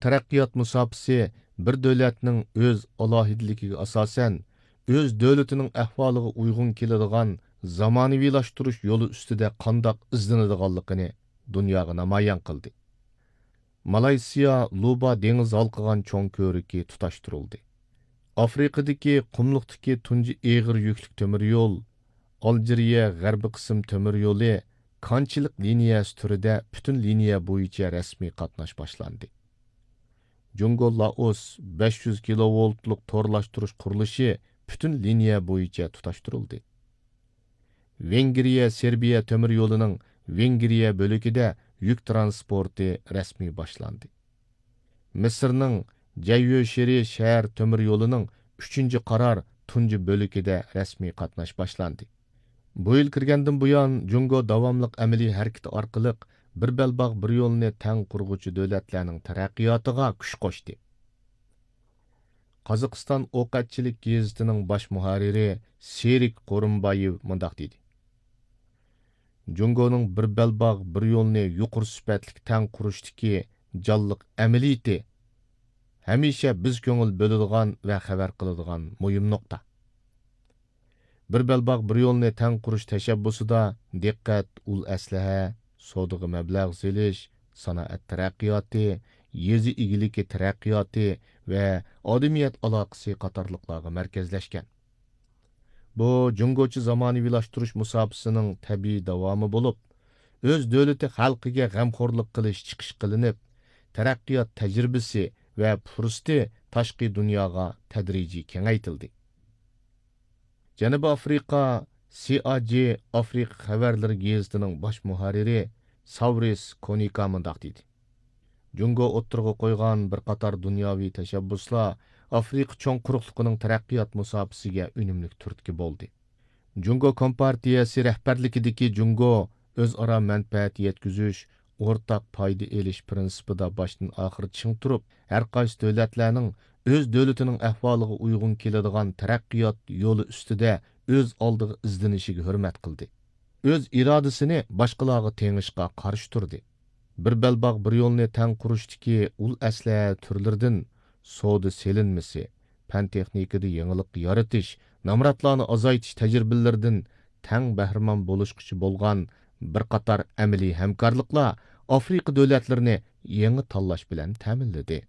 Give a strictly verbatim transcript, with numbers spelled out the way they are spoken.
تەرەققىيات مۇساپىسى بىر دۆلەتنىڭ ئۆز ئالاھىدىلىكىگە ئاساسەن، ئۆز دۆلىتىنىڭ ئەھۋالىغا ئۇيغۇن كېلىدىغان زامانىۋىلاشتۇرۇش يولى ئۈستىدە قانداق ئىزدىنىدىغانلىقىنى دۇنياغا نامايان قىلدى. مالايسىيا لۇبا دېڭىز ھالقىغان چوڭ كۆۋرۈكى تۇتاشتۇرۇلدى. ئافرىقىدىكى قۇملۇقتىكى تۇنجى ئېغىر يۈكلۈك تۆمۈر يول، ئالجىرىيە غەربىي قىسىم تۆمۈر يولى كانچىلىق لىنىيەسى تۈرىدە پۈتۈن لىنىيە بويىچە رەسمىي قاتناش باشلاندى. جۇڭگو لائوس بەش يۈز كىلوۋولتلۇق تورلاشتۇرۇش قۇرۇلۇشى پۈتۈن لىنىيە بويىچە تۇتاشتۇرۇلدى. ۋېنگرىيە سېربىيە تۆمۈر يولىنىڭ ۋېنگرىيە بۆلىكىدە يۈك تىرانسپورتى رەسمىي باشلاندى. مىسىرنىڭ جەييۆشېرى شەھەر تۆمۈر يولىنىڭ ئۈچىنچى قارار تۇنجى بۆلىكىدە رەسمىي قاتناش باشلاندى. بۇ يىل كىرگەندىن بۇيان، جۇڭگو داۋاملىق ئەمەلىي ھەرىكىتى ئارقىلىق بىر بەلباغ، بىر يولنى تەڭ قۇرغۇچى دۆلەتلەرنىڭ تەرەققىياتىغا كۈچ قوشتى. قازاقىستان ئوقەتچىلىك گېزىتىنىڭ باش مۇھەررىرى سېرىك قورۇمبايېۋ مۇنداق دېدى: جۇڭگونىڭ بىر بەلباغ، بىر يولنى يۇقىرى سۈپەتلىك تەڭ قۇرۇشتىكى جانلىق ئەمەلىيىتى ھەمىشە بىز كۆڭۈل بۆلىدىغان ۋە خەۋەر قىلىدىغان مۇھىم نۇقتا. بىر بەلباغ، بىر يولنى تەڭ قۇرۇش تەشەببۇسىدا دىققەت ئۇل ئەسلىھە، سودىغا مەبلەغ سېلىش، سانائەت تەرەققىياتى، يېزا ئىگىلىكى تەرەققىياتى ۋە ئادەمىيەت ئالاقىسى قاتارلىقلارغا مەركەزلەشكەن. بۇ جۇڭگوچە زامانىۋىلاشتۇرۇش مۇساپىسىنىڭ تەبىئىي داۋامى بولۇپ، ئۆز دۆلىتى خەلقىگە غەمخورلۇق قىلىش چىقىش قىلىنىپ، تەرەققىيات تەجرىبىسى ۋە پۇرسىتى تاشقى دۇنياغا تەدرىجىي كېڭەيتىلدى. جەنۇبىي ئافرىقا، سىئاجى ئافرىقا خەۋەرلىرى گېزىتىنىڭ باش مۇھەررىرى ساۋرىس كونىكا مۇنداق دېدى: جۇڭگو ئوتتۇرىغا قويغان بىر قاتار دۇنياۋى تەشەببۇسلار ئافرىقا چوڭ قۇرۇقلۇقىنىڭ تەرەققىيات مۇساپىسىگە ئۈنۈملۈك تۈرتكە بولدى. جۇڭگو كومپارتىيەسى رەھبەرلىكىدىكى جۇڭگو ئۆزئارا مەنپەئەت يەتكۈزۈش، ئورتاق پايدا ئېلىش پىرىنسىپىدا باشتىن ئاخىر چىڭ تۇرۇپ، ھەر قايسى دۆلەتلەرنىڭ ئۆز دۆلىتىنىڭ ئەھۋالىغا ئۇيغۇن كېلىدىغان تەرەققىيات يولى ئۈستىدە ئۆز ئالدىغا ئىزدىنىشىگە ھۆرمەت قىلدى. ئۆز ئىرادىسىنى باشقىلارغا تېڭىشقا قارشى تۇردى. بىر بەلباغ، بىر يولنى تەڭ قۇرۇشتىكى ئۇل ئەسلىھە تۈرلىرىدىن سودا سېلىنمىسى، پەن تېخنىكىدا يېڭىلىق يارىتىش، نامراتلارنى ئازايتىش تەجرىبىلىرىدىن تەڭ بەھرىمەن بولۇشقۇچى بولغان بىر قاتار ئەمەلىي ھەمكارلىقلار ئافرىقا دۆلەتلىرىنى يېڭى تاللاش بىلەن تەمىنلىدى.